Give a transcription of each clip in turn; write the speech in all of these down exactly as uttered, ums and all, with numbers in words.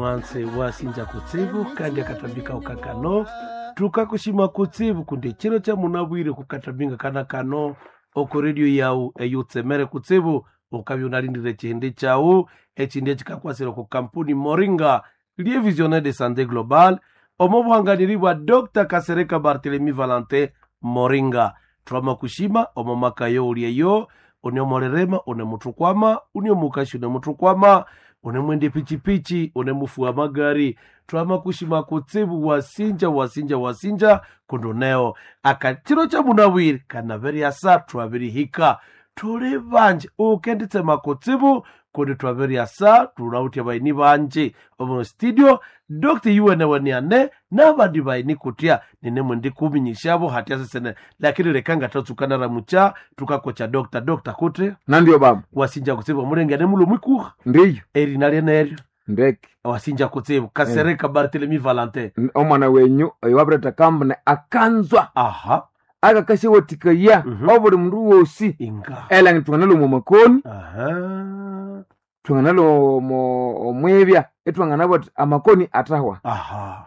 Mwanse wasinja kutsibu kandi akatambika ukakano tukakushima kutsibu kundi chiro cha munabwire kukatambinga kana kano oko redio yawu eyutsemere kutsibu ukabya unalindire chihindi chawu echindi echikakwasira ku kampuni Moringa lie visionnaire de santé global omo buhanganiri bwa Dr Kasereka Barthelemy Valentin Moringa. Twama kushima omo makayo ulieyo une molerema une mutukwama une mukashi une mutukwama une mwende pichipichi une mufu wa magari. Twama kushima kutsibu wasinja wasinja wasinja kunduneo akachiro cha munawiri kanaveriasa twabirihika tuli banje ukenditsema kutsibu kundi twabiriasa tunautia baini banje omu studio Dr yuweneweniane nabandi baini kutya ninemwe ndikuminyishabo hatya sesene lakini lekanga tatsukana ramucha tukakocha Dr Dr kuti Nandio baba wasinja kutsibu omulenge nemulo mwikuha ndiyo erina lyeneryo ndeke wasinja kutsibu Kasereka Barthelemy Valentin N- omwana wenyu oyo wabireta kambune akanzwa aha akakashiwathikaya Mhm. obuli mundu wosi inga elangi thwanganalwa omu makoni aha thwanganalwa omu omwibya ithwanganabwa thi amakoni athahwa aha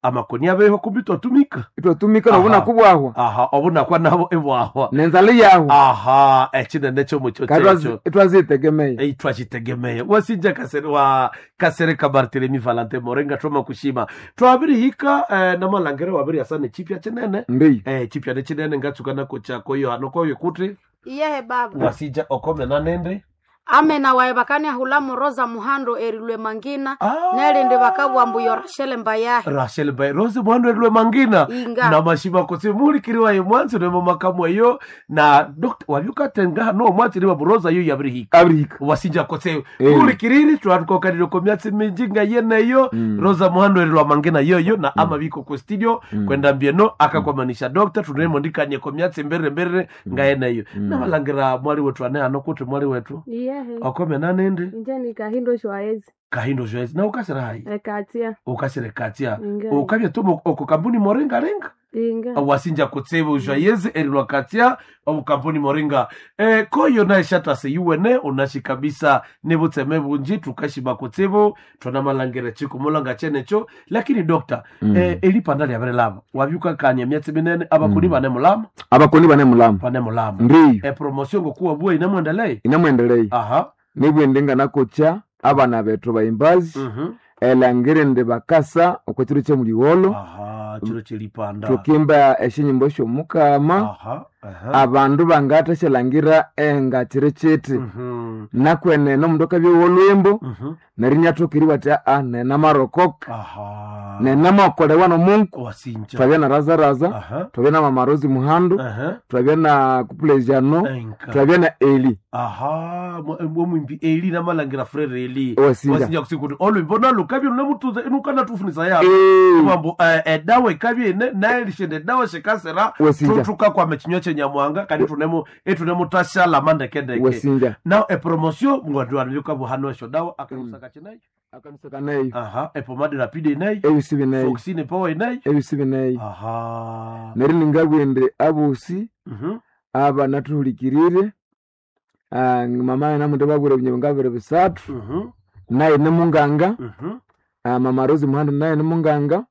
amakoni abeho kumbi twatumika ithwatumika Aha. nobunaku bwahwa aha obunakwa nabo ebwahwa nenzala yahwa aha ekinene kyomucho kyekyo ithwazitegemeya Ei, twakitegemea wasinja kasere wa Kasereka Barthelemy Valentin Morenga twama kushima twabirihika eh, namalangere wabiriasa nechipya chinene ndiyo eh, chipya nechinene ngatsuka nako chako iyo hano koyo kuti Iyehe baba wasinja okomena nende amena waye bakaniahula muroza muhando erilwe mangina Ah. nelindi bakabwa mbu yo Rachel mbayahe Rachel by Rose mwandu elwe mangina Inga. na mashima kutsi mulikiriwa ye mwanzi nemo makamwe yo na Dr wabyukatenga no mwanzi niwa buroza yo yabirihika abirihika wasinja kutsi Eh. mulikiriri twatukokanire ko myatsi minji nga yeneyo Mm. Rosa muhando elwa mangina yoyo na amabiko ku studio kwenda mbieno akakwamanisha Dr tunemo ndikanye ko myatsi mbere mbere nga yeneyo nabalangira mwali wetu ane ano kuti mwali wetu Iyehe okomena nende inje ni kahindo shwaezi kahindo joyce na ukasira hayi ekatia ukasire katia Inga. ukabya tumo oko kampuni Moringa renga inga wasinja kutsibu joyeze erilwa katia omu kampuni Moringa e, koyo naye shatase yuwene unashi kabisa nibutseme bunji tukashima kutsibu twanamalangire chikumulanga chenecho lakini dokta mm. e, elipanda lyabere wabyukakania myatsi minene abakuni mm. bane mulama abakoni bane mulama bane mulama ndiyo e, promotion ngokuwa bua inamwendelei inamwendelei aha nibwende nganakocha abana bethu bayimbazi mm elangire ndi bakasa okwa chiro kyemuliwolo aha chiro chelipanda tukimba eshinyimbo syomukama aha aha abandu bangathasyalhangira enga chiri chiti Mhm. nakwenene omundu akabya wolwimbo Mhm. neryo inyathokeriwa athi aa nenamarokoka aha nenamakolewa nomungu wasinja twabya na razaraza aha twabya na mamarozi muhandu aha twabya na kupulejano enka twabya na eli aha omwimbi eli namalangira frere eli Wasinja. wasinja kusikuti olwimbo nalukabye lunemutuza inukana ya Eh, mambo edawa ikabye ine naelishende edawa shikasera Wasinja. tukakwama echinywa chenyamwanga kandi tunemu etunemutashala mandekendeke wasinja now epromotion mwandu esho dawa akalusaka chinayo akanusa neyo aha epomade rapide inayo ebisi bineyo foxine power inayo ebisi bineyo aha neryo ningabwende abosi Mhm. aba nathuhulikirire ah, mama namundu babwire ebinyebo ngabiri bisathu Mhm. naye nimunganga Mhm. ah, mama Rose Muhando naye nimunganga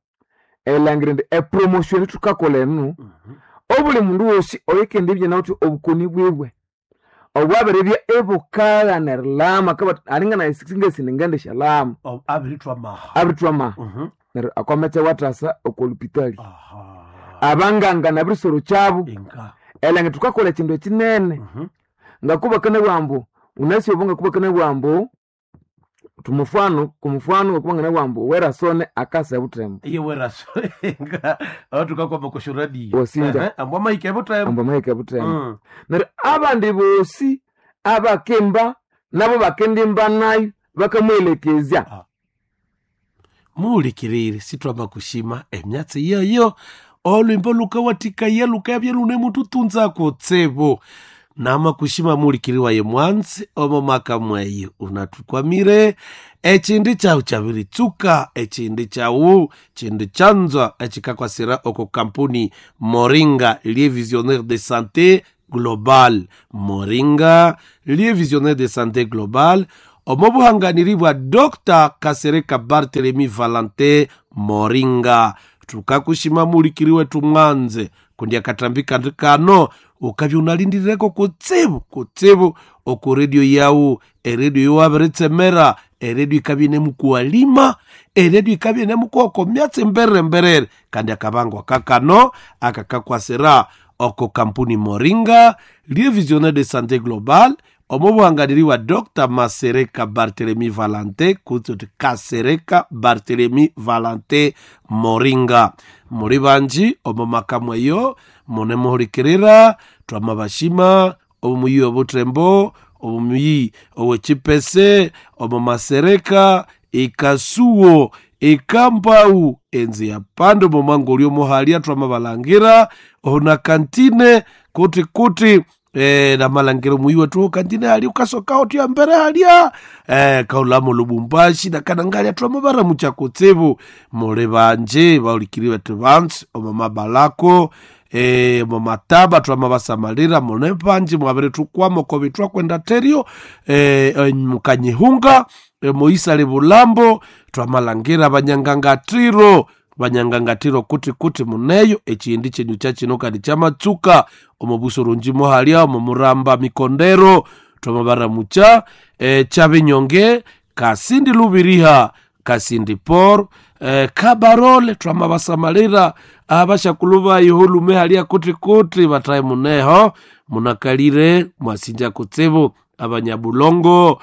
elangire ndi epromotion thukakola enu Mhm. obuli mundu wosi oyikendibye nawuthi obukoni bwiwe obwabirebya ebukagha erilama kabati alinga singasini Oh, abirithwa maha abirithwa maha Mhm. neryo akwametsa wathasa okolupitali aha abanganga nabirisoro kyabu inga elange thukakola ekindu ekinene Mhm. ngakubakana bwambu unasi obo ngakubakana bwambu tumufano kumufano ngakubangana bwambu werasone akasa ebutembo iye weraso inga atukakoma kushuradi Wasinja. ambwa maike butembo ambu amahika ebutembo Mm. neryo abandi bosi abakimba nabo bakendimba nayo bakamwelekezya muulikirire sitwama kushima emyatsi yeyo olwimbo lukawatikaya lukabya lunemututunza kutsibu nama kushima muulikiri waye mwanzi omo maka mweyi unatukwamire echindi chawu chabiritsuka echindi chawu chindi chanzwa echikakwasira oko kampuni Moringa lie visionnaire de santé global Moringa lie visionnaire de santé global Omo buhanganiri bwa Doctor Kasereka Barthelemy Valentin Moringa. Tukakushima mulikiri wetu mwanze kundi akatambi kandi kano ukabya unalindirireko kutsibu kutsibu oku redio yawu, eredio yowabiritsemera, eredio ikabya inemukuwalima, eredio ikabya inemukuwako myatsi mberere mberere. Kandi akabangwa kakano akakakwasira oko kampuni Moringa lie visionnaire de santé globale omo buhanganiri wa Doctor Masereka Barthelemy Valentin kutse uti Kasereka Barthelemy Valentin Moringa. Muli banji omo makamu eyo mune muhulikirira twamabashima omuyi obutembo omuyi owechipese omo Masereka ikasuo ikambau enzi ya pando momangoli omuhalia twamabalangira ona kantine kuti kuti e, namalangira muyi wetu kantine hali ukasoka otya mbere halia e, kaulamo Lubumbashi nakanangalia twamabara muchakutsibu muli banje baulikiri wetu bansi omo mabalako e, mumataba twamabasamalira mune panji mwabere tukwamo kobi twakwenda terio e, e, mukanyihunga e, moisale bulambo twamalangira banyangangatiro banyangangatiro kuti kuti muneyo echindi chenyu chachino kandi chamatsuka omo busorunji mohalia omo muramba mikondero twamabara mucha e, chabinyonge kasindi lubiriha kasindi por e, kabarole twamabasamalira abashakulu bayo hulume halia kuti kuti bataye muneho munakalire mwasinja kutsibu abanyabulongo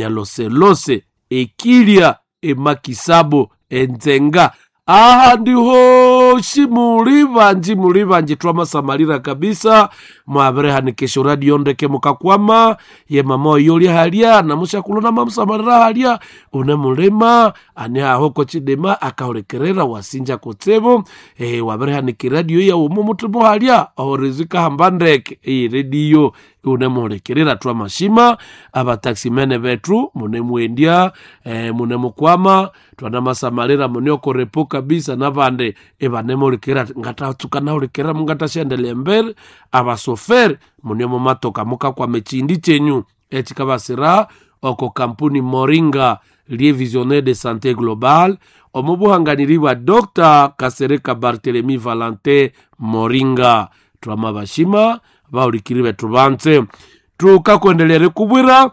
abanyaloselose ekilya emakisabo enzenga aha ndihoshi muli banji muli banji twamasamalira kabisa mwabirehanikisha radio ndeke mukakwama ye mama oyolya halya namushakuluna mamusamalira halya une mulima ani ahoko chidema akahulekerera wasinja kutsibu e, wabirehanika radio yawu mumutima halya ohorezika hamba ndeke iyi radio unemuhulekerera twamashima abataximene bethu munemwendya e, munemukwama twanamasamalira muneokorepo kabisa nabandi ebanemuhulikirira ngatatsuka nahulikirira mungatashendele embere abasoferi mune mumatoka mukakwama echindi chenyu echikabasira oko kampuni Moringa lie visionnaire de santé globale omo buhanganiri bwa Doctor Kasereka Barthelemy Valentin Moringa. Twamabashima bahulikiri bethu banse tukakwendelere kubwira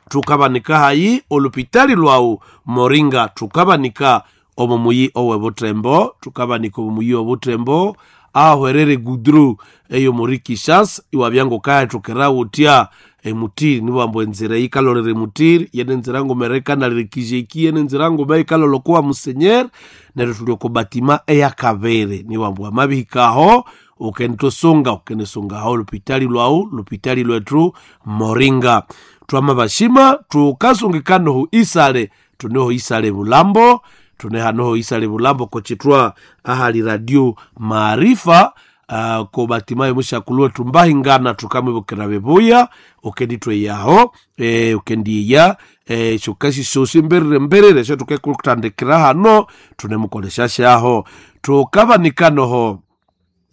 tukabanika hayi olupitali lwawu Moringa tukabanika omo muyi owe butembo tukabanika omo muyi obutembo ahwerere gudru eyo muri Kinshasa iwabyango kaya tukera utya emutiri niwambo enzira ikalolere mutiri yene nzira ngomerekanalire kijeki yene nzira ngome ikalolokowa musenyer neryo tuli oko batima eyakabere niwambo amabihikaho ukenitosunga ukenesungaho lupitali lwawu lupitali lwetu Moringa. Twamabashima tukasungikanohu isale tuneho isale bulambo tunehanoho isale bulambo kochitwa ahali radio Maarifa uh, ko batimayo mushakulwe tumbahingana tukamwibukira bebuya ukenditweyaho e, ukendiya e, shokasi shosi mberere mberere sho tukekutandikira hano tunemukoleshashaho tukabanikanoho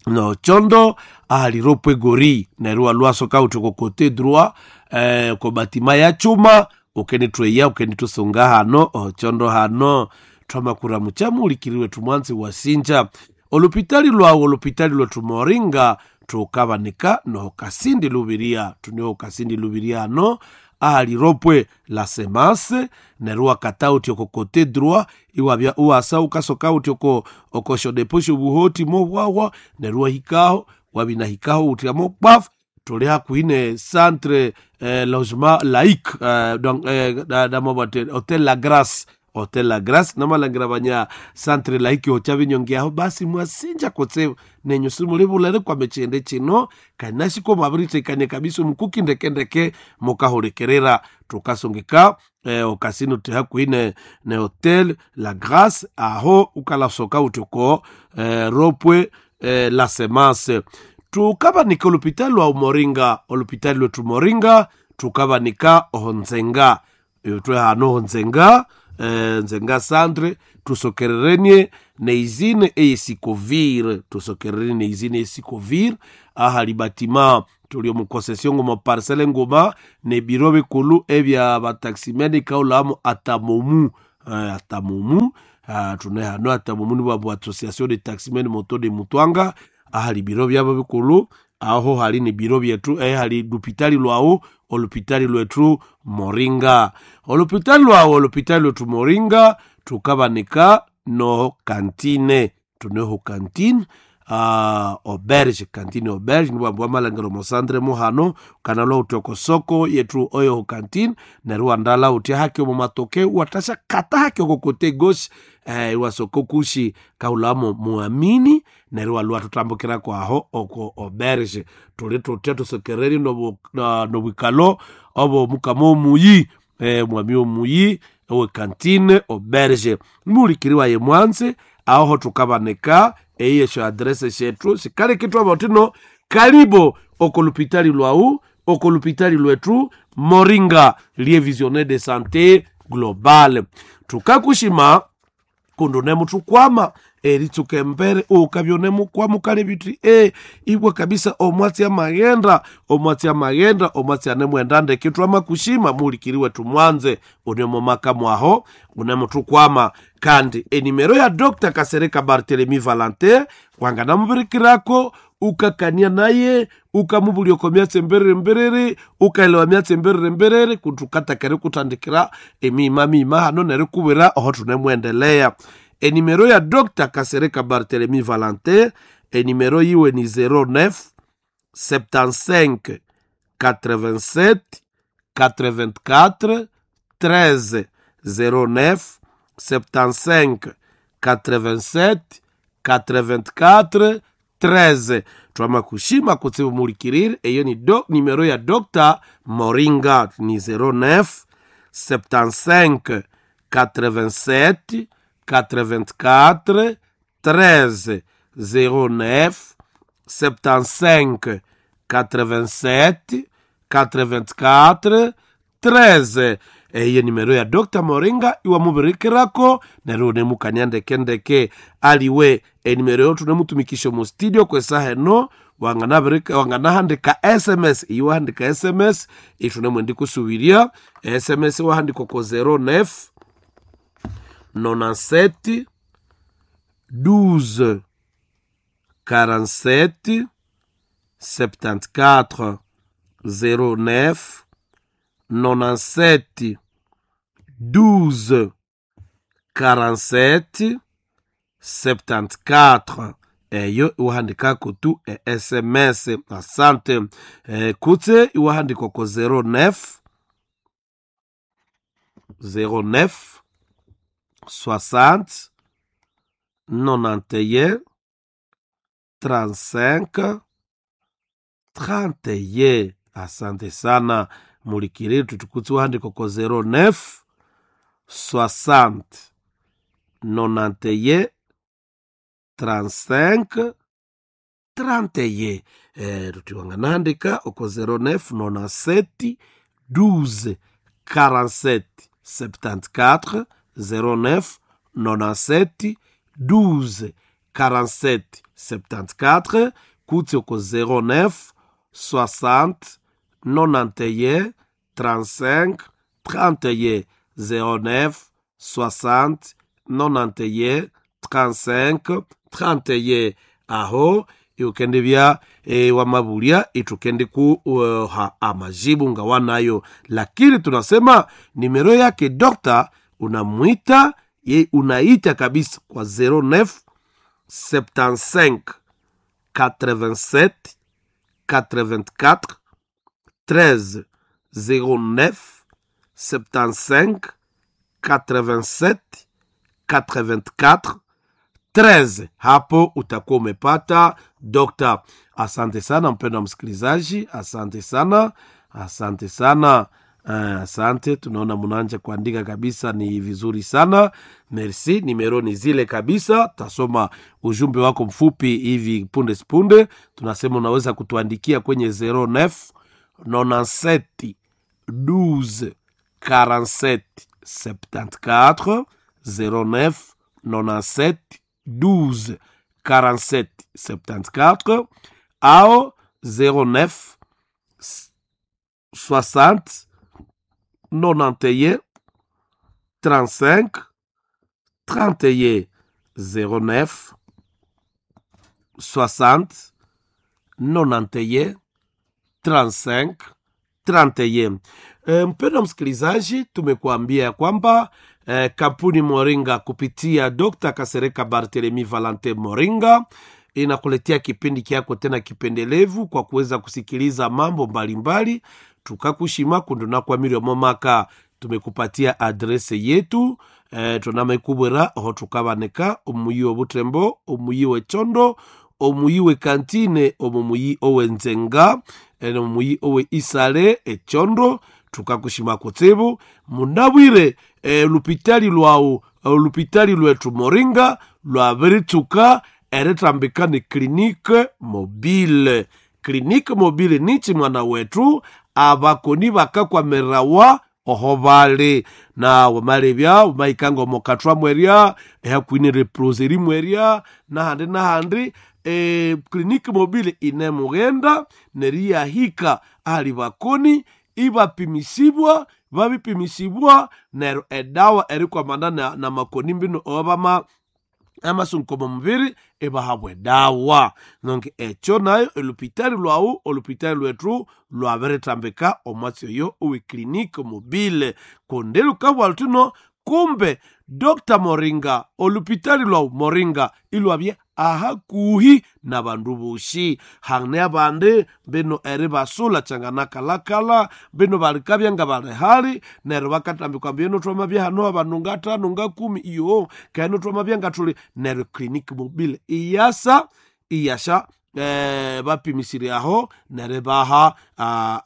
no chondo aliropwe gori nerua lwasoka uti kote droit eh, ko batima ya chuma ukenitweya ukenitusunga hano ochondo hano twamakura muchamulikiriwe tumwanzi wasinja olupitali lwawo olupitali lwetu Moringa tukabanika noho kasindi lubiria tuneho kasindi lubiria hano aliropwe la semase neruwa kata uti oko kote droit iwabya uwasa ukasoka uti oko oko shodeposho buhoti mobwawa neruwa hikaho wabina hikaho uti amo paf tuli hakuhi ne centre eh, logement laïque eh, donc eh, da, da mobate hotel la Grâce hotel la Grâce namalangira banya centre laïque ocha binyongeaho basi mwasinja kotse nenyu simulibulere kwa mechende chino kanashiko mabiritekanie kabisa mukuki ndekendeke mukahulekerera tukasungika eh, okasino ti hakuhi ne, ne hotel la Grâce aho ukalasoka utuko eh, ropwe eh, la semence tukabanika olupitali lwa Moringa olupitali lwetu Moringa tukabanika ohonzenga twe hano honzenga eh, nzenga centre tusokererenie neizine eyesikovir tusokererenie neizine eyesikovir ahali batima Tuli omu concession nguma parcelle nguma nebiro bikulu ebya bataximene kaulamu atamomu uh, atamomu uh, tune hano atamomu ni bwabu association de taximen moto de Mutwanga ahali biro byabo bikulu aho hali ni biro byetu eh, hali lupitali lwawu olupitali lwetu Moringa olupitali lwawu olupitali lwetu Moringa tukabanika no kantine tuneho kantine uh, auberge kantine auberge nibwambwa malangero mosandre muhano kanalwa utoko soko yetu oyo kantine neryo wandala uti haki omo matoke watasha kata haki oko kote gauche eh, iwasoko kushi kaulamo muamini neryo walwa tutambukira kwaho oko auberge tuli tutya tusokereri nobu- na- nobwikalo obo mukama omuyi eh, mwami omuyi owe kantine auberge mulikiri waye mwanze aho tukabaneka eyesho adrese shetu sikalekitwa botino karibo okolupitali lwau okolupitali lwetu Moringa lie visionnaire de santé globale tukakushima kundu nemutukwama eritsuka embere ukabya nemukwama ukale biti e ibwa kabisa omwatsi amaghenda omwatsi amaghenda omwatsi anemwenda ndeke twamakushima mulikiri wetu mwanze unemomaka mwaho unemutukwama kandi enimero ya Dr Kasereka Barthelemy Valentin wanganamubirikirako ukakania naye ukamubulia oko myatsi emberere mberere ukaelewa myatsi emberere mberere kutukatakere kutandikira emima mima hano neryo kubwira oho tunemwendelea enimero ya Dr Kasereka Barthelemy Valentin enimero yiwe ni zero neuf septante-cinq quatre-vingt-sept quatre-vingt-quatre treize zero neuf septante-cinq quatre-vingt-sept quatre-vingt-quatre treize twamakushima kutsibu mulikirire eyo ni do, nimero ya Dr Moringa ni zero neuf septante-cinq quatre-vingt-sept quatre-vingt-quatre treize zero neuf septante-cinq quatre-vingt-sept quatre-vingt-quatre treize eyo nimero ya Dr Moringa iwamubirikirako neryo unemukania ndekendeke aliwe enimero yo tunemutumikisha mu studio kwesaha eno wanganabirika- wanganahandika sms iwahandika sms itunemwendi kusubiria sms wahandika ko zero neuf nonante-sept douze quarante-sept septante-quatre zero neuf nonante-sept douze quarante-sept septante-quatre eyo iwahandikako tu e sms asante e, kutse iwahandikwa ko zero neuf zero neuf soixante nonante et un trente-cinq trente et un asante sana mulikiri tutukutse iwahandikwa ko zero neuf soixante nonante et un trente-cinq trente et un eh, tutiwanganandika oko zero neuf nonante-sept douze quarante-sept septante-quatre zero neuf nonante-sept douze quarante-sept septante-quatre kutsi oko zero neuf soixante nonante et un trente-cinq trente et un zero neuf soixante nonante et un trente-cinq trente et un aho iukende bya e, wamabulia itukende kuha amajibu nga wanayo lakini tunasema nimero yake dokta unamwita ye unaita kabisa kwa zero neuf septante-cinq quatre-vingt-sept quatre-vingt-quatre treize zero neuf septante-cinq quatre-vingt-sept quatre-vingt-quatre treize hapo utakuwa umepata dokta asante sana mpendwa msikilizaji asante sana asante sana uh, asante tunaona mnaanja kuandika kabisa ni vizuri sana merci nimero ni zile kabisa tasoma ujumbe wako mfupi hivi punde sipunde tunasema unaweza kutuandikia kwenye zero neuf nonante-sept douze quarante-sept septante-quatre zero neuf nonante-sept douze quarante-sept septante-quatre ao zero neuf soixante nonante et un trente-cinq trente et un zéro neuf soixante nonante et un trente-cinq trente et un. E, mpendwa msikilizaji, tumekuambia ya kwamba e, kampuni Moringa kupitia Dr. Kasereka Barthelemy Valentin Moringa inakuletea kipindi kyako tena kipendelevu kwa kuweza kusikiliza mambo mbalimbali tukakushima kundunakwamire momaka. Tumekupatia adrese yetu e, tunamaikubwera oho tukabaneka omuyi obutembo, omuyi wechondo, omuyi wekantine, omumuyi owenzenga, omuyi owe isale echondo. Tukakushima kutsibu munabwire e, lupitali lwawu lupitali lwetu Moringa lwabiritsuka eritambika ni klinike mobile. Klinike mobile nichi mwana wetu abakoni bakakwamirawa oho bali na wamalebya wamaikanga omokathwa mwerya ehakwine leproseri mwerya nahandi nahandi. E, kliniki mobile inemughenda neriyahika ahali bakoni ibapimisibwa babipimisibwa neryo edawa erikwamana na, na makoni mbino obama amasunko mubiri ibahabwa edawa. Nonke ekyo nayo olupitali lwawu olupitali lwetu lwabiritambika omwatsi oyo owe kliniki mobile kundi lukabwa luthino kumbe Dr. Moringa olupitali lwawu Moringa ilwabye ahakuhi nabandu boshi hane abandi bino eribasula changanakalakala bino balikabya nga bali hali neryo bakatambikwa mbino twamabya hano abandu ngatano ngakumi iyo keno twamabya ngathuli neryo clinic mobile iyasa iyasha eh, bapimisire aho neryo baha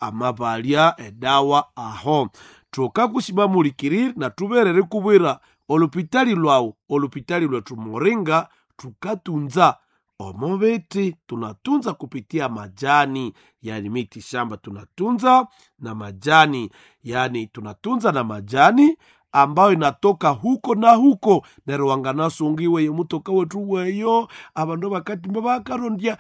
amabalya edawa aho. Tukakushima mulikiriri na tuberere kubwira olupitali lwawu olupitali lwetu Moringa tukatunza omobeti, tunatunza kupitia majani, yani miti shamba tunatunza na majani, yani tunatunza na majani ambayo inatoka huko na huko neryo wanganasungiwe mutoka wetu weyo abandu bakatimba bakarondya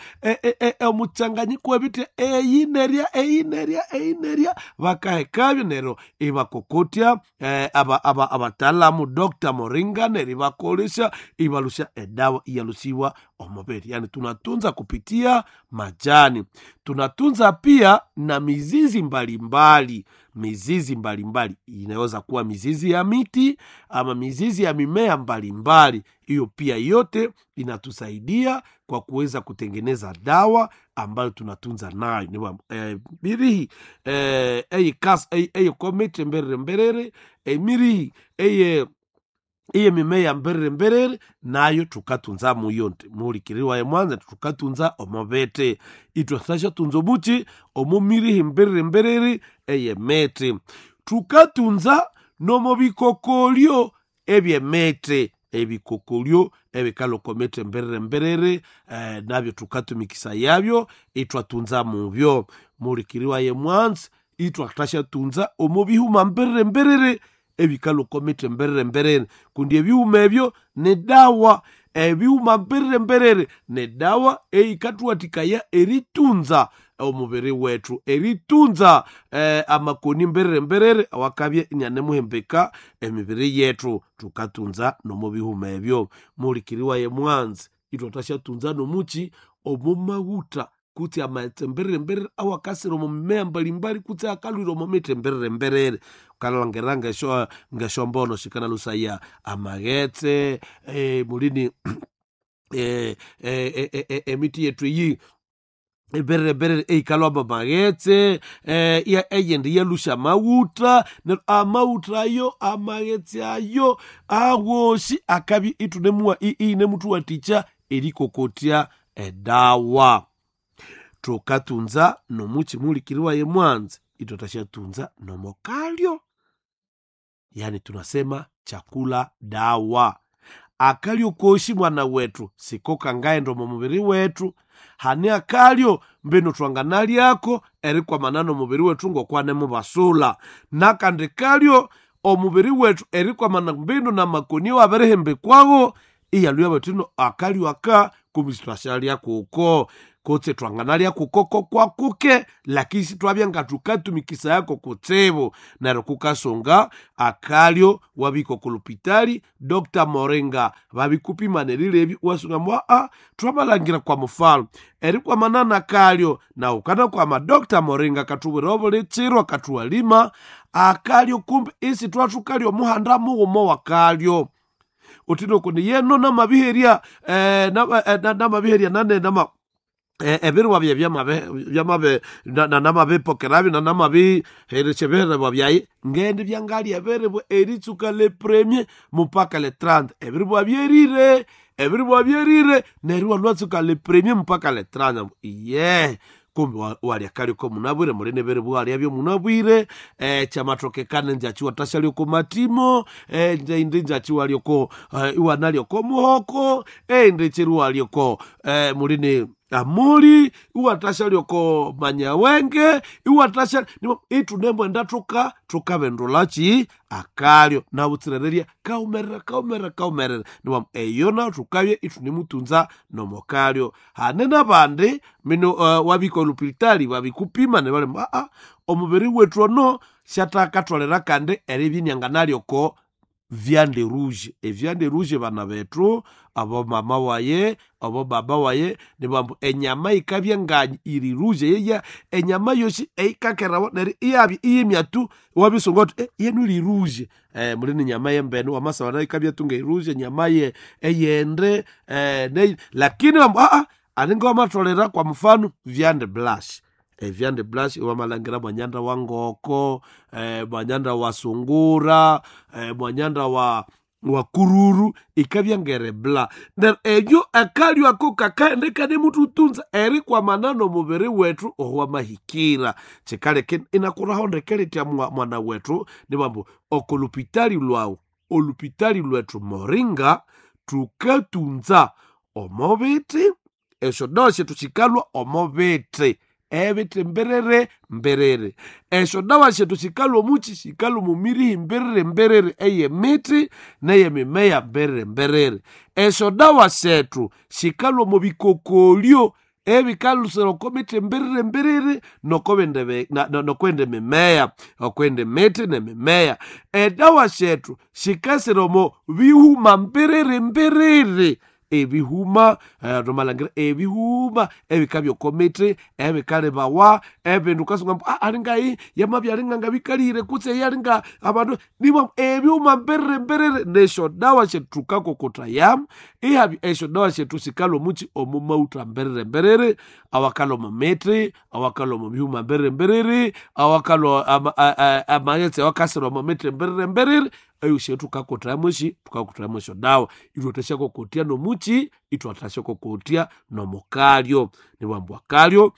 omuchanganyiko webiti eyi nerya eyi nerya eyi nerya bakahekabyo neryo ibakokotya eh, aba, aba, abatalamu Dr. Moringa neryo ibakolesha ibalusha edawa iyalusiwa omubiri. Yani tunatunza kupitia majani, tunatunza pia na mizizi mbalimbali. Mizizi mbalimbali inaweza kuwa mizizi ya miti ama mizizi ya mimea mbalimbali. Hiyo pia yote inatusaidia kwa kuweza kutengeneza dawa ambayo tunatunza nayo. Ni eh, mirihi eh, eyi kas eyi komete mberere mberere emirihi eye iye mimea mberere mberere nayo tukatunza muyo nti mulikiriwa emwanza tukatunza omobete itwasashatunza omuchi omumirihi mberere mberere eyemete tukatunza nomobikokolyo ebyemete ebikokolyo ebikalokomete mberere mberere eh, nabyo tukatumikisa yabyo itwatunza mubyo mulikiriwa yemwanza itwatashatunza omobihuma mberere mberere ebikalokomete mberere mberere kundi ebyuma ebyo ne dawa ebyuma mberere mberere ne dawa eikatuwatikaya eritunza omubiri wetu eritunza eh, amakoni mberere mberere awakabye inyanemuhembeka emibiri yetu tukatunza nomubihuma ebyo mulikiriwa ye mwanzi itwatashatunza nomuchi omumaguta kutsi amaghetse mberere mberere awakasira omu mimea mbalimbali kutsi akalwira omu miti mberere mberere ukalangirira ngesho ngeshombono shikanalusaya amaghetse eh, mulini eh, eh, eh, eh, emiti yetu iyi emberere mberere eikalwamba maghetse eh, eyindi yalusha amawuta neryo amawuta ayo amaghetse ayo awosi akabya itunemuwa inemutuwatikya erikokotya edawa tukatunza nomuchi mulikiriwa ye mwanzi itwatashatunza nomokalyo yani tunasema chakula dawa akalyo koshi mwana wetu siko kangaenda omu mubiri wetu hani akalyo mbino twanganalyako erikwamana nomubiri wetu ngokwanemubasula nakandi kalyo omubiri wetu erikwamana mbino namakoni wabirihembekwawo iyalhuya batino akalyo aka kumisi twashalya kuko Kutse twanganalya kukoko kwakuke lakini sitwabya nga tukatumikisayako kutsibu. Neryo kukasunga akalyo wabika okulupitali Doctor Moringa babikupima nerilebya wasunga mwa a twamalangira kwa mufalo erikwamanana kalyo na ukana kwama Doctor Moringa katubwira obuli chiro akathuwalima akalyo kumbe isi twathukalya omuhanda mughuma wakalyo utino kundi yeno namabiherya eh, namabiherya nane nama ebiriwa bye byamabe byamabe namabipokerabyo nanamabiheresya ebiherebwa byayi ngende byangalya ebiribwa eritsuka le premier mpaka le trente ebiribwa byerire ebiribwa byerire neryo walwatsuka le premier mpaka le trente iye kumbe walya kaliko munabwire mulini ebiribwa walyabyo munabwire eh, kyamatokekana njachi watashalyoko matimo eh, indi njachi walyoko eh, iwanalyoko muhoko eh, indi chiri walyoko eh, mulini amuli iwatashalyoko manyawenge iwatasha itunemwenda tuka tukabendulachi akalyo nabutsirererya kaumerera kaumerera kaumerera niwamu eyo nayo tukabye itunemutunza nomokalyo hane nabandi mino uh, wabika olupitali babikupima nebalemu aa omubiri wetu ono syatakatholera kandi eribyinyanga nalyoko viande rouge eviande rouge bana bethu abo mama waye abo baba waye nibambu enyama ikabya nga iri rouge yeya enyama yosi eikakerawa neryo iyabya iyimya tu wabisunga uthi eh, yenu iri rouge eh, mulini nyama yembene wamasaba ikabya tu ngeirouge enyama ye eyende eh, ne, lakini bambu aa alinga wamatholera kwa mfano viande blanche eviande blanche iwamalangira mwanyanda wa ngoko eh, mwanyanda wa sungura eh, mwanyanda wa wa kururu ikabya ngere bla neryo eyo akalyo ako kakaende kane mututunza erikwamana nomubiri wethu owamahikira kikaleka inakuraho ndekeletya mwana wethu nibambu okolupitali lwawu olupitali lwethu Moringa tukatunza omobiti esyo dawa syethu sikalwa omobiti ebiti mbiriri mbiriri esyo dawa syethu sikalwa omuki sikalwa omumirihi mbiriri mbiriri eyemiti neyemimeya mbiriri mbiriri esyo dawa syethu sikalwa omu bikokolyo ebikalusira oko miti mbiriri mbiriri nokwenda emimeya okwenda emiti nemimeya edawa syethu sikasira omu bihuma mbiriri mbiriri ebihuma nomalangira ebihuma ebikabya okomiti ebikalebawa ebindu ukasunga mbu alingayi yamabya alinganga bikalire kutse eyalinga abandu niba ebyuma mbiriri mbiriri nesyo dawa syethu tukakokothayamu ihabya esyo dawa syethu sikalwa omuki omumauta mbiriri mbiriri awakalwa omu miti awakalwa omu bihuma mbiriri mbiriri awakalwa amaghetse awakasirwa omu miti mbiriri mbiriri eyo syethu tukakothayamu esi tukakothayamu esyo dawa ithwathasyakokothya nomuki ithwathasyakokothya nomukalyo nibwambu akalyo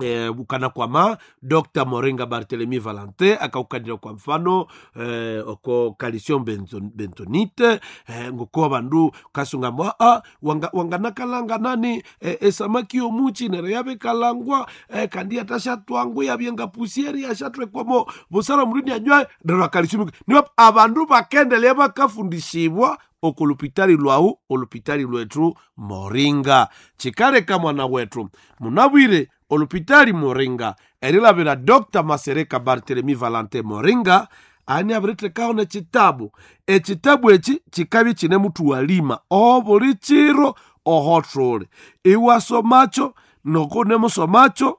eh, ukana kwama Doctor Moringa Barthelemy Valentin akaukanira kwa mfano eh, oko calcium benzo, bentonite eh, ngoko abandu kasunga mwa ah, wanga, wanganakalanga nani eh, esamaki yomuchi nero yabekalangwa eh, kandi atashatwangu yabyenga pusieri yashatwekwamo busara mulini anywa nero calcium niwa abandu bakendelea bakafundishibwa okulupitali lwawu olupitali lwetu Moringa chikaleka mwana wetu munabwire olupitali Moringa erilabira Doctor Masereka Barthelemy Valentin Moringa ani abirithekaho nekitabu ekitabu eki kikabya kine muthuwalima obuli kiro ohothuli iwasomakyo nokunemusomakyo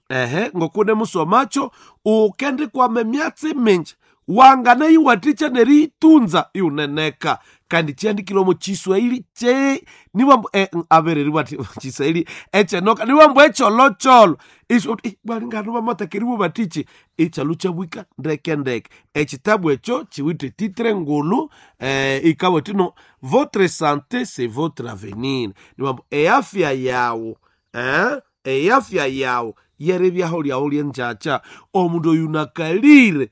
ehe ngokunemusomakyo ukendikwama emyatsi mingi wangana iwathikya neriyitunza iwuneneka kandi kyandikire omu kiswahili kye niwambu eh, abereri bati kiswahili ekyenoka niwambu ekyolokyolo iso balingano bamatakeriwe batichi ekyalu kyabwika ndeke ndeke ekitabu ekyo kiwithe titre ngulu eh, ikabwa tino votre santé c'est votre avenir niwambu eafya yawu eh? eafya yawu yeribyaho lyawu lyenjacha omundu oyu nakalire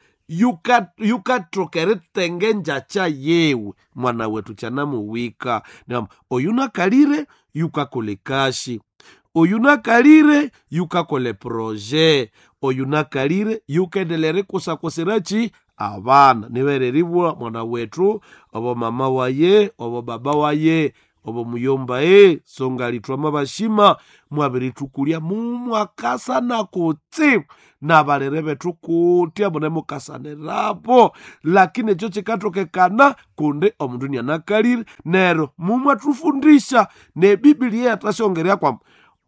yukathoka erithenga enjacha yewe mwana wetu kyanamuwika niwamba oyu nakalire yukakola ekashi oyu nakalire yukakola eproje oyu nakalire yukendelera erikusakusirachi abana nibereribwa mwana wetu obo mama waye obo baba waye Obo muyomba e songali twama bashima mwabiritukulya mumwakasana kutsibu nabalere bethu kutya mune mukasanirapo, lakini ekyo kikatokekana kundi omundu nianakalire nero mumwatufundisha nebibilia yatasyongerya kwamba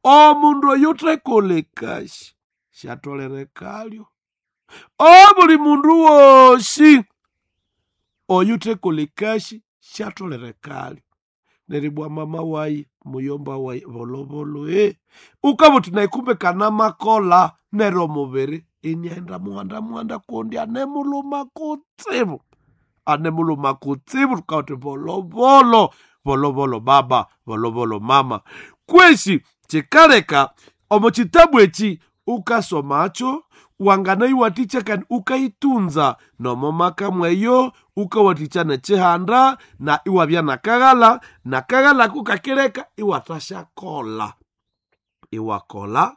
omundu oyu thekolekashi syatholerekalyo. Obuli mundu wosi oyu thekolekashi syatholerekalyo. Neribwa mama wayi muyomba wayi volovolo e ukabuthi naikumbe kanamakola nero omubiri iniaghenda muhanda muhanda kundi anemuluma kutsibu, anemuluma kutsibu. Tukawuthi volovolo volovolo baba volovolo mama. Kwesi kikaleka omo kitabu eki ukasomacho wangana iwathikya kandi ukaitunza nomo maka mweyo ukawathikya nekihanda na iwabya nakaghala nakaghala kukakileka iwathasyakola iwakola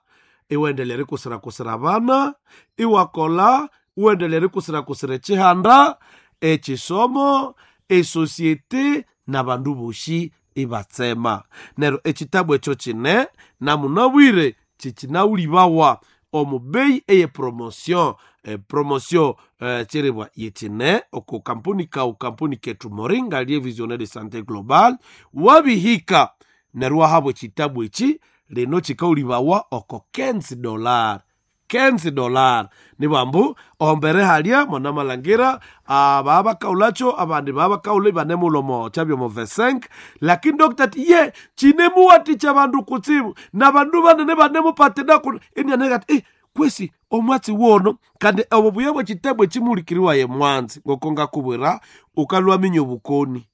iwendelea erikusirakusira abana iwakola iwendelea erikusirakusira ekihanda ekisomo esosiete nabandu bosi ibatsema. Neryo ekitabu ekyo kine namunabwire kikinawulibawa omu bei eye promotion e promotion eh, kyeribwa yekine oko kampuni kawu kampuni ketu Moringa lie Visionnaire de Santé Global wabihika neryo wahabwa ekitabu eki lino kikawulibawa oko quinze dollar quinze dollar nibambu ombere halya mwanamalhangira baba bakaulakyo abandi baba bakaula ibanemulha kyabya omo vingt-cinq lakini doctor ati ye kinemuwathikya abandu kutsibu nabandu banene banemupatinaku inianeka ati eh, kwesi omwatsi wono kandi obo buya bwekitabu ekimulikiriwaye mwanzi ngoko ngakubwira ukalwaminya obukoni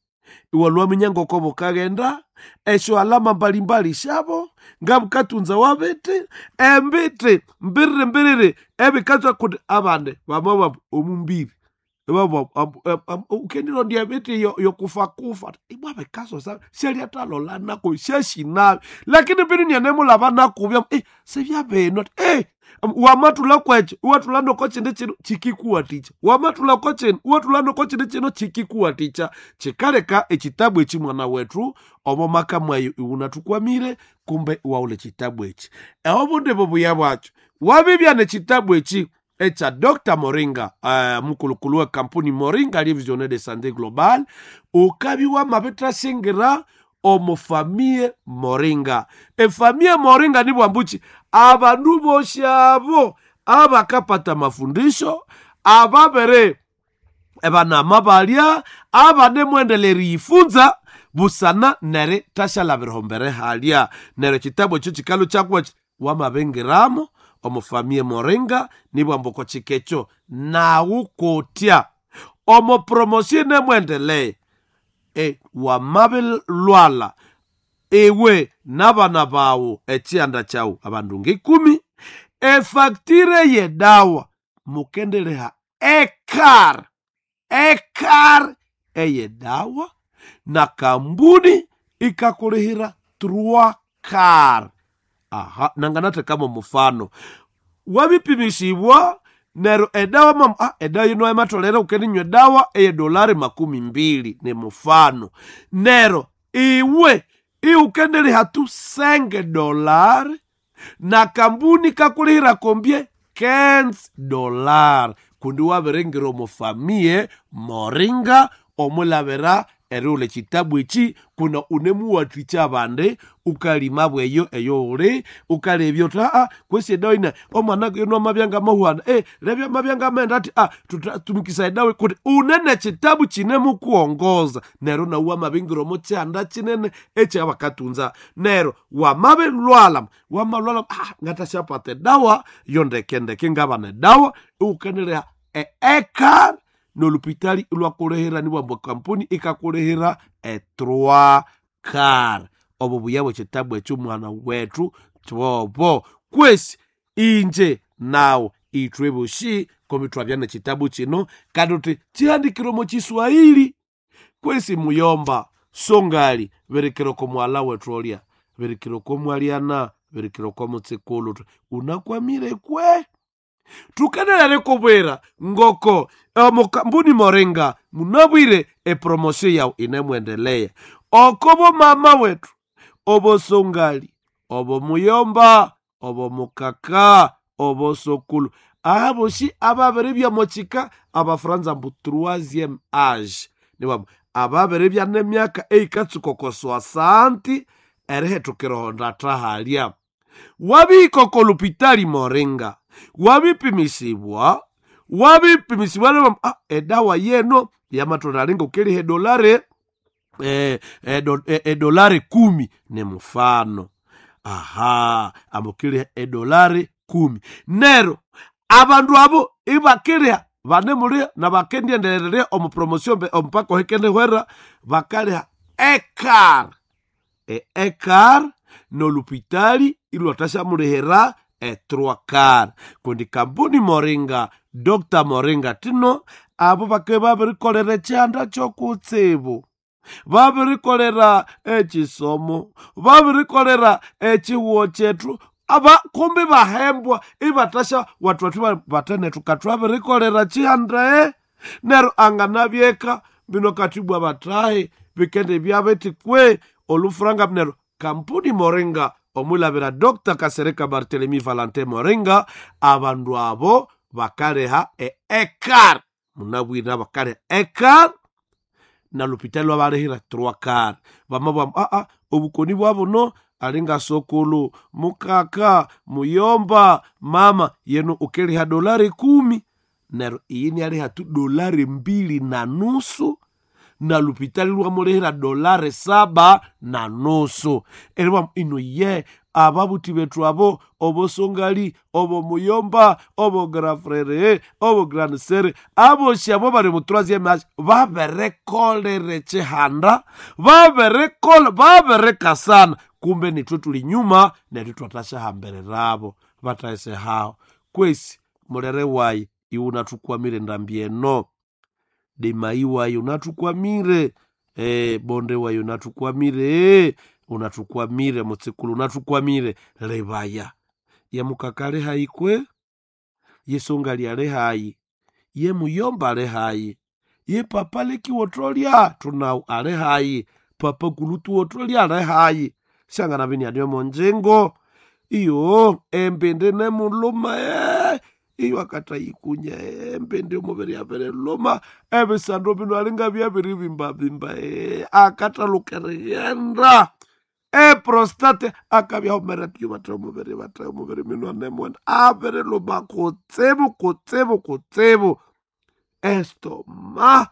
iwalwaminya ngoko bukaghenda esyo alama mbalimbali syabo ngabukatunza wabiti embiti mbiriri mbiriri ebikatswa kundi abandi bamabambu omumbiri ukendirondya emiti yokufakufa ibwa bikasosa syalyathalolanako syasinabi lakini mbiri nianemulaba nakubya eh, sibyabinu eh, wamathulha kwekyo iwathulha noko kindi kino kikikuwathikya wamathulha ko kino iwathulha noko kindi kino kikikuwathikya. Kikaleka ekitabu eki mwana wethu omo maka mwayo iwunathukwamire kumbe iwawulha ekitabu eki. Obundi bubuya bwakyo wabibya nekitabu eki ekya Doctor Moringa uh, mukulukulu we kampuni Moringa lie Visionnaire de Santé Global ukabya wamabithasingira omu famie Moringa. Efamie Moringa nibwambuki abandu bosi abo abakapata mafundisho ababere ebanama balya abanemwendelera eriyifunza busana neri thashalabira mbere halya. Neryo ekitabu ekyo kikalu kyakuwa wamabingiramo omu famie Moringa nibwambu oko kika ekyo nawu kutya omu promosio inemwendelea e, wamabilwala iwe nabana bawu ekihanda kyawu abandu ngikumi efacture yedawa mukendeleha ekar ekar eyedawa na kambuni ikakulihira trois car. Aha nanganathekamo mufano wabipimisibwa nero edawa mam ah, edawa yino ematolera ukendinywa edawa eye dolari makumi mbili ni mufano nero iwe iukendeliha tu cinq dolari na kambuni kakulihira kombie quinze dolari kundi wabiringira omufamie Moringa omulabira erighulha ekitabu eki kuna unemuwathikya abandi ukalima bweyo eyoghuli ukalebya uthi aa kwesi edawa ina omwana yono amabya ngamahuana e lebya amabya ngamaghenda athi a tutumikisa edawa kuti unene ekitabu kinemukuwongoza neryo nawu wamabingira omo kihanda kinene ekyabakatunza neryo wamabilwala wamalwala ah, ngatasyapata edawa yondekendeke ngabana edawa iwukanilha eekar nolupitali ilwakulihira nibwambu kampuni ikakulihira e-trois car. Obo buya bwekitabu ekyo mwana wethu tbobo kwesi inje nawu ithwe bosi komi twabya nekitabu kino kandi uthi kihandikire omo kiswahili kwesi muyomba songali birikira oko mwala wethu olya birikira oko mwalyana birikira oko mutsikulu uthi unakwamire kwe Tukanelere kubwira ngoko omukambuni Moringa munabwire epromosio yawu inemwendelea. Okobo mama wetu obosongali obomuyomba obomukaka obosokulu aboshi ababere byamochika abafranza mbu troisième age niwabo ababere byanemyaka eikatsuka oko soixante erihetukira tahalya wabihika lupitali Moringa wabipimisibwa wabipimisibwa niwambu, ah, edawa yeno yamatolalinga ukiliha edolare eh, edo, eh, edolare kumi ni mfano aha ambukiliha edolare kumi nero abandu abo ibakiliha banemuliha na bakendiendelererya omu promotion omupaka ohekendihwera bakaliha ekar e ekar nolupitali ilwatashamulihira etrwakar kundi kampuni Moringa Doctor Moringa tino abo bake babirikolera ekyihanda kyokutsibu babirikolera ekisomo babirikolera ekihuo kyetu aba kumbi bahembwa ibatasha watu watu batenetu katwabirikolera chihanda nero anganabyeka bino katibwa batahe bikende byabetikwe olufuranga nero kampuni Moringa omwilabira Doctor Kasereka Barthelemy Valentin Moringa abandu abo bakaleha e ekar munabwina bakaleha ekar na lupitali lwabalehera trois bama aa obukoni bwabuno alinga sokulu mukaka muyomba mama yenu ukiliha dolari kumi nero iyini aliha tu dolari mbili na nusu na lupitali lwamulihira dolari saba na nusu eriwa ino ye ababuti betu abo obosongali obo muyomba obo grafrere obo gransere aboshi abo bali mu troisième age baberekolere chihanda baberekola baberekasana kumbe nitwe tuli nyuma nethu twatashahambererabo bataese hao kwesi mulere wayi iwe unathukwamire ndambi eno demai wayi unathukwamire eh, bonde wayi unathukwamire unathukwamire mutsikulu unathukwamire lebaya yemukaka ali hayi kwe yesongali ali hayi yemuyomba ali hayi ye papa lekiwotolya tunawu ali hayi papa kulutuwotolya ali hayi shangana bini anio monjengo iyo embende nemuluma eh, iyo akatayikunya embende omubiri yabiriluma ebisando bino alinga byabiribimbabimba eh, akatalukereghenda eprostate akabyaumera tyo batha omubiri batha omubiri mino anemwenda abiriluma kutsibu kutsibu kutsibu estoma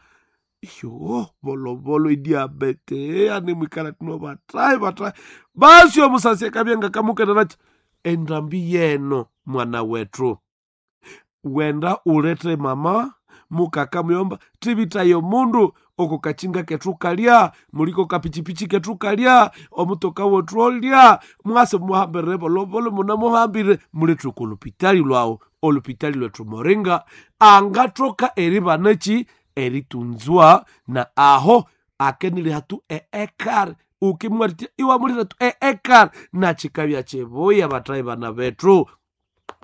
iyo volovolo idiabete anemwikala tino batai batai basi omusasi akabyenga kamukenanachi endambi yeno mwana wetu wenda ulete mama mukaka muyomba tivitayo mundu oko kachinga kethu kalya muliko kapichipichi kethu kalya omutoka wethu olya mwase muhambirire volovolo muna muhambire mulethu kolupitali lwawu olupitali lwethu Moringa angathoka eribanachi eritunzwa na aho akeniliha tu eekar ukimwaritia iwamulira tu eekar na chikabya chibuya batai bana bethu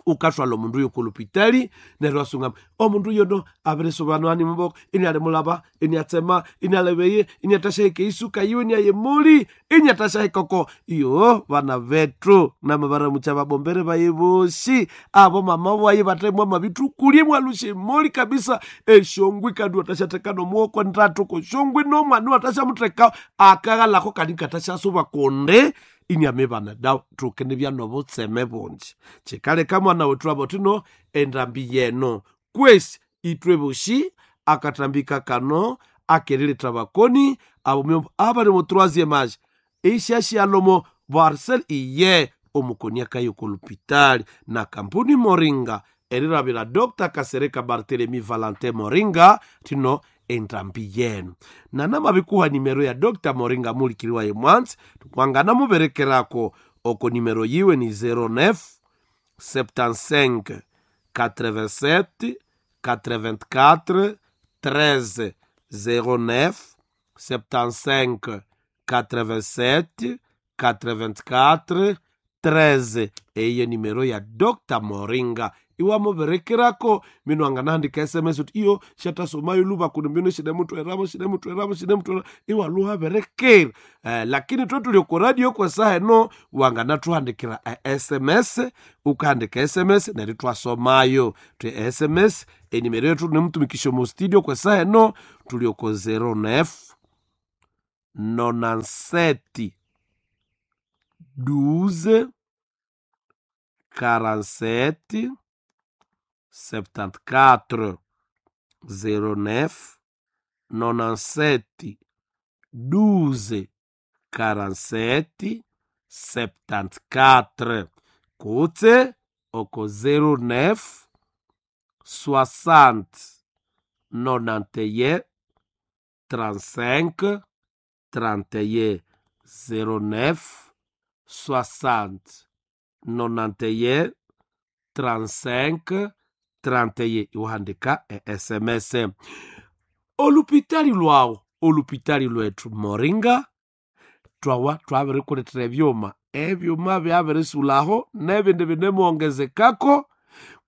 ukathwala omundu uyo kulupitali neryo asungama omundu uyo no abirisubana muboko inialimulaba iniatsema inialebeye iniatashahika isuka yiwe iniayemuli iniatashahikoko iyo bana bethu namabaramucha babombere baye bosi abo mama waye batemwa mabithukulye mwalushemoli kabisa eshongwi kandi watashatheka nomuwoko ndatu koshongwi nomwana watashamutheka akaghalako kandi katashasuba kunde inyamibana da tukene byanobutseme bunji chikaleka mwana wetu abo tino endambi yeno kwesi itwe bushi akatambika kano akerileta bakoni abo abali mu troisième age ishashialomo barcel iye omukoni akayo kolupitali na kampuni Moringa erirabira Doctor Kasereka Barthelemy Valentin Moringa tino endambi yenu nanamabikuha nimero ya Doctor Moringa mulikiriwa ye mwanzi twangana muberekerako oko nimero yiwe ni zero neuf septante-cinq quatre-vingt-sept quatre-vingt-quatre treize zero neuf septante-cinq quatre-vingt-sept quatre-vingt-quatre treize eyo nimero ya Doctor Moringa Iwamubirikirako mino anganahandika S M S uti iyo shatasomayo luba kuno mbino shinemutweramo shinemutweramo shinemutweramo iwaluhabirikira. Eh, lakini twe tuli ku radio kwa saha eno wanganathuhandikira e S M S, ukahandika S M S neryo twasomayo twe S M S enimero yetu nemutumikisho mu studio kwa saha eno tuli oko zero nine nonante-sept douze quarante-sept septante-quatre zero neuf nonante-sept douze quarante-sept septante-quatre kutse oko zero neuf soixante nonante et un trente-cinq trente et un zero neuf soixante nonante et un trente-cinq trente et un iwahandika e S M S. Olupitali lwawo olupitali lwetu Moringa twawa twabirikulethera ebyuma ebyuma byabirисulaho nebindi binemuwongezekako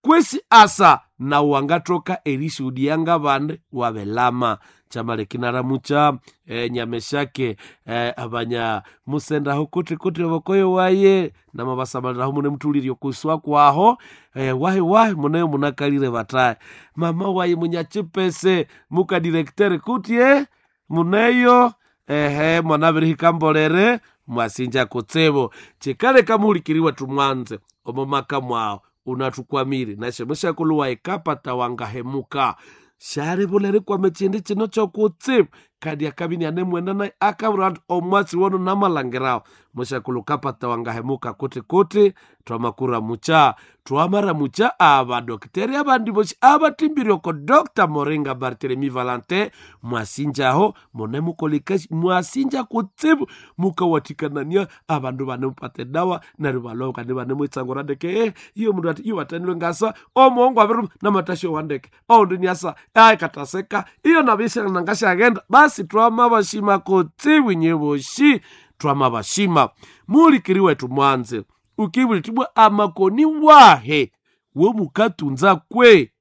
kwesi asa nawu wangathoka erishuhudiya ngabandi wabelama kyamalekinaramucha e, nyameshake e, abanya musendaho kuti kuti obokoyo waye namabasamaliraho mune mutulirye okuswa kwaho e, wahi wahi muneyo munakalire bataye mama waye munyachipese mukadirektere kuti e muneyo ehe mwanabirihika mbolere mwasinja kutsibu chikaleka muhulikiriwa tumwanze omo maka mwawo unathukwamire nashemushakulu ekapata wangahemuka shalivulere kwame chindi chino chokutsibu kadi akabini anemwenda naye akabura anti omwatsi wono namalangirawo mushakulu kapata wangahemuka kuti kuti twamakura mucha twamara mucha abadokiteri abandi bosi abatimbiri oko Doctor Moringa Barthelemy Valentin mwasinjaho mune mukolikashi mwasinja kutsibu mukawathikanania abandu banemupata edawa neryo baloka nibanemwitsangura ndeke eh, iyo mundu ati iyo watanilwe ngasa omuhongo abiru namatasho wandeke oundi niasa ai kataseka iyo nabishana ngashaghenda basi twamabashima kutsibu nyeboshi twamabashima mulikiri wetu mwanze ukibulitibwa amakoni wahe womukatunza kwe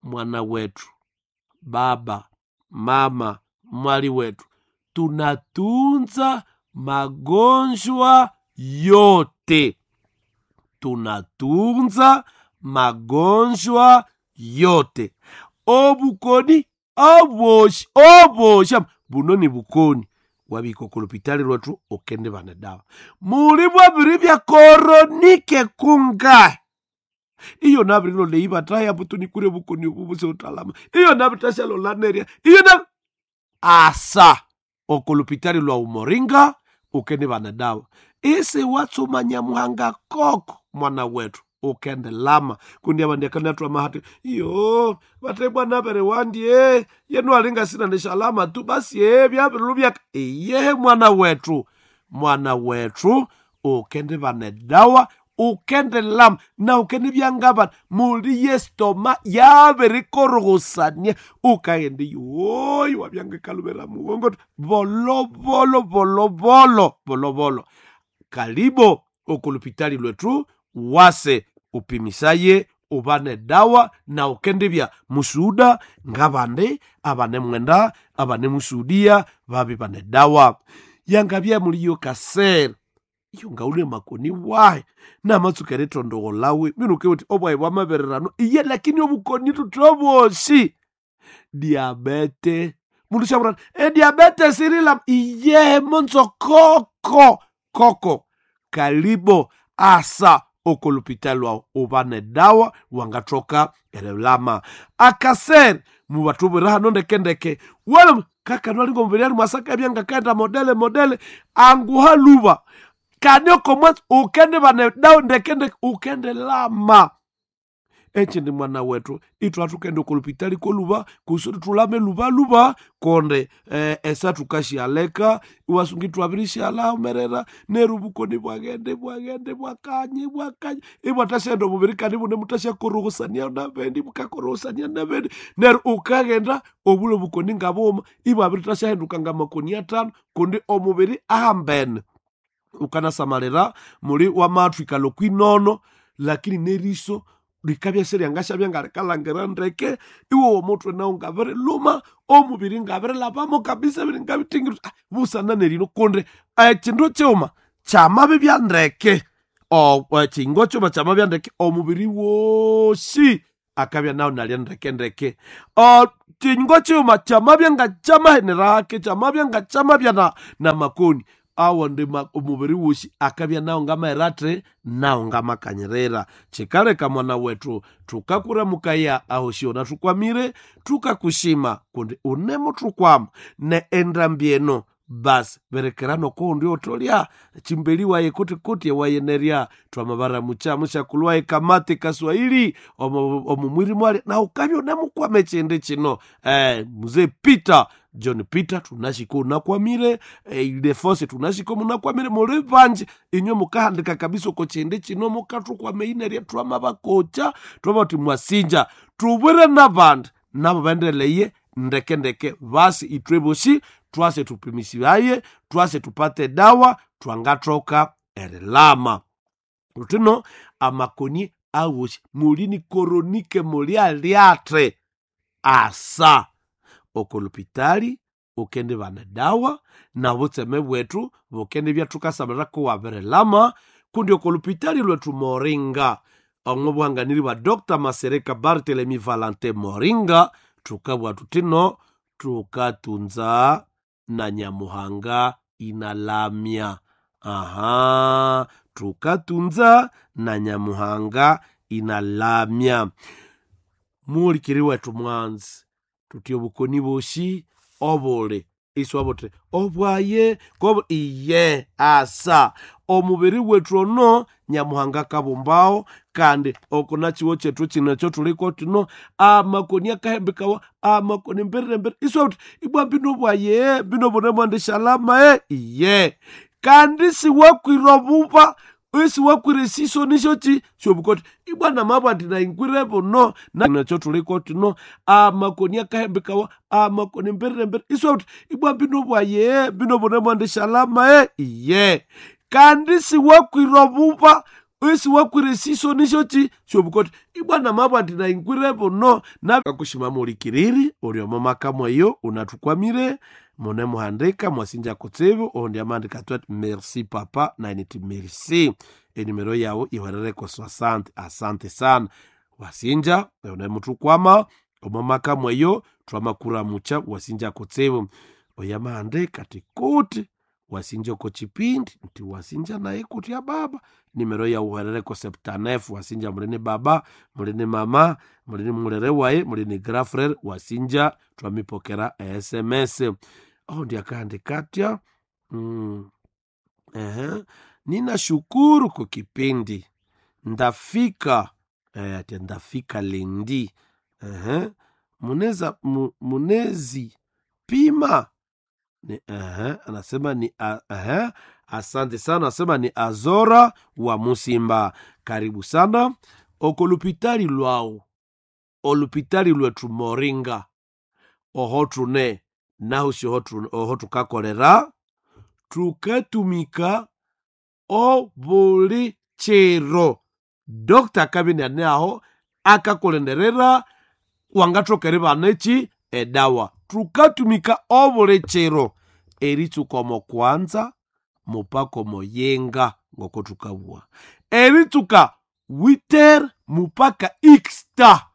mwana wetu baba mama mwali wetu tunatunza magonjwa yote tunatunza magonjwa yote obukoni oboshi oboshi buno ni bukoni wabika okulupitali lwetu okende bana dawa muli bwabiri bya koronike kunga iyo nabirilo leibataya butunikure bukoni obubuse utalama iyo nabitashalolaneria iyo na asa okulupitali lwa umoringa ukende bana dawa isi watsuma nyamuhanga koko mwana wetu ukende lama kundi abandi akanatwa mahati iyo bate bwana bere wandie yenu alinga sina nishalama tu basi ye byabirulu byaka iye mwana wetu mwana wetu ukende bane dawa ukende lama na ukende byangabana muli yestoma yabirikorogosania ukaende yoyi wabyanga kalubera mugongo volovolo volovolo volovolo kalibo okulupitali lwetu wase upimisaye ubane dawa na ukendibya musuda ngabandi abane mwenda abane musudia babi bane dawa yangabya muliyo kasere iyo ngaule makoni wahe namatsuka eritondogo lawe minuke uti obwayi bwamabererano iye lakini obukoni tutoboshi diabete mundu shabura e diabete sirila iye monzo koko koko kalibo asa okolupita lwawo ubane dawa wangathoka erelama akasere mubatubwira hano ndekendeke wala kakanwalingo mubiri ali mwasaka byangakaenda modele modele anguha luba kanioko mwatsi ukende bane dawa ndekendeke ukende lama echindi mwana wetu ithu athukende kulupitali koluba kusudi tulame lubaluba konde eh, esa tukashialeka iwasungi twabirishalaomerera neru bukoni bwagende bwagende bwakanye bwakanye ibwatashaenda omubiri kandi bune mutashakorogosania nabendi mukakorogosania nabendi neru ukagenda obulo bukoni ngabuma ibwabiritashahenduka ngamakoni atano kundi omubiri ahambene ukanasamalira muli wamathwikalo kwinono lakini neriso Likabya siryangashabya ngalikalhangira ndeke iwe omutwe nawu ngabiriluma omubiri ngabirilhabamo kabisa biri ngabitingiri ah, busana nerino kundi ekindu kighuma kyamabibya ndeke O- ekingo kyuma kyamabya ndeke omubiri wosi akabya nawu nalya ndeke ndeke O, kingo kighuma kyamabya nga kyamahenerake kyamabya nga kyamabya na, na makoni awo ndi ma- omubiri wosi akabya nawu ngamahera athi nawu ngamakanyirira kikaleka mwana wetu tukakuramukaya aho syona tukwamire tukakushima kundi unemuthukwama ne endambi eno basi berekera nokuhundi otolya chimbeli waye kuti kuti wayenerya twamabaramucha mushakulu waye kamate kaswahili omu omu mwiri mwali na ukabya unemukwama echindi chino eh, mzee Peter John Peter tunashiko unakwamire eh, Ildefonse tunashiko munakwamire muli vanji inywe mukahandika kabisa uko chindi chino mukathukwama inerya twamabakocha twamati mwasinja tubwire nabandi nabo bendeleye ndeke ndeke basi itwe bosi twase tupimisibaye twase tupate dawa twangathoka erilama lutino amakoni awosi mulini koronike muli alyathe asa okolopitali ukende bana dawa na butseme bwetu bukende byathukasamalira kuwabirilama kundi okolopitali lwetu moringa omwo buhanganiri bwa Dr Masereka Barthelemy Valentin Moringa thukabwa thutino tukatunza na Nyamuhanga inalamya aha tukatunza na Nyamuhanga inalamya muhulikiri wetu mwanzi tuti obukoni bosi obuli iswa buti obwaye kobu iye asa omubiri wetu ono Nyamuhanga kabumbawo kandi okuna chiwo chetu chino ekyo tuliko tuno amakoni akahembekawa amakoni mbirire mbirire iswa buti ibwa bino bwaye bino bunemwandi shalama e iye kandi siwakwira obuba isiwakwira esiso nisyoki syobukoti ibwa namabwa ati naingwire buno nakyo tuliko tuno amakoni akahembekawa amakoni mbirire mbirire iswa buti ibwa bino bwaye bino bunemwandi shalama e iye kandi siwakwira obuba isiwakwira esiso nisyoki syobukoti ibwa namabwa ati naingwire buno nakakushima mulikiriri uli omo maka mweyo unathukwamire mune muhandika mwasinja kutsibu ohundi amandika twati merci papa nainiti merci enimero yawu ihwerereko asante asante sana wasinja unemuthukwama omo maka mweyo twamakuramucha wasinja kutsibu oyo amahandika ti kuti wasinja oko chipindi nti wasinja naye kuti ya baba nimero yawu ihwerereko septanefu wasinja mulini baba mulini mama mulini mulere waye mulini grafrere wasinja twamipokera sms ohundi akahandika atya mm. Ehe. Ninashukuru kwa kipindi ndafika eh, ati ndafika lendi Ehe. muneza mu, munezi pima ni, ehe, anasema ni a, ehe, asante sana anasema ni Azora wa Musimba karibu sana okolupitali lwawu olupitali lwetu Moringa oho tune nahu si oho tukakolera tukatumika obuli chiro dokta akabya ane aho akakulenderera wangathoka eribana eki edawa tukatumika obuli chiro eritsuka omo kwanza mupaka omo yenga ngoko tukabugha eritsuka witer mupaka ixta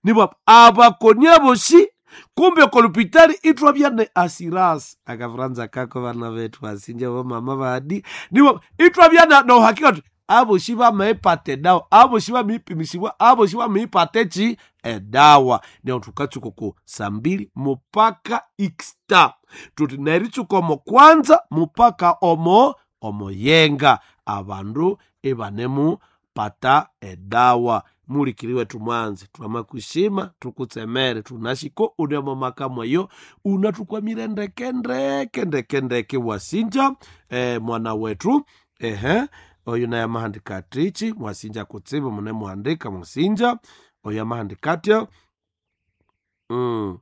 nibwa abakoni abosi kumbe okolupitali ithwabya ne asirasi akafuranza kako bana bethu basinja bamama badi nibwa ithwabya na nohakika tuti abosi bamaipata edawa abosi bamaipimisibwa abosi bamaipata eki edawa neo thukatsuka ku sambili mupaka ixta tuti neritsuka omo kwanza mupaka omo omoyenga abandu ibanemu pata edawa mulikiri wetu mwanzi twamakushima tukutsemere tunashiko unemo maka mweyo unathukwamire ndeke ndeke ndeke ndeke wasinja eh, mwana wetu ehe oyo naye amahandika atichi mwasinja kutsibu mune muhandika musinja oyo amahandika atya mm.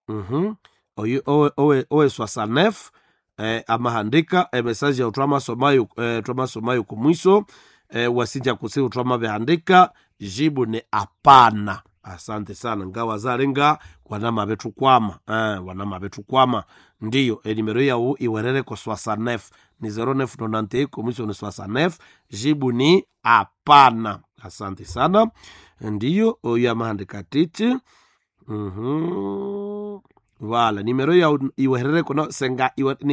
mm-hmm. oyo owe, owe, owe swasanef eh, amahandika emesaje yawu twamasomayo eh, twamasomayo kumwiso E, wasinja kutsibu twamabihandika jibu ni apana. Asante sana ngawazalenga wanamabethukwama eh, wanamabethukwama ndiyo enimero yawu iwerereko soixante-neuf ni zéro neuf nonante komisio ni soixante-neuf jibu ni apana. Asante sana ndiyo oyo amahandika titi mm-hmm. Wala nimero yawu iwerereko no senga iwe, ni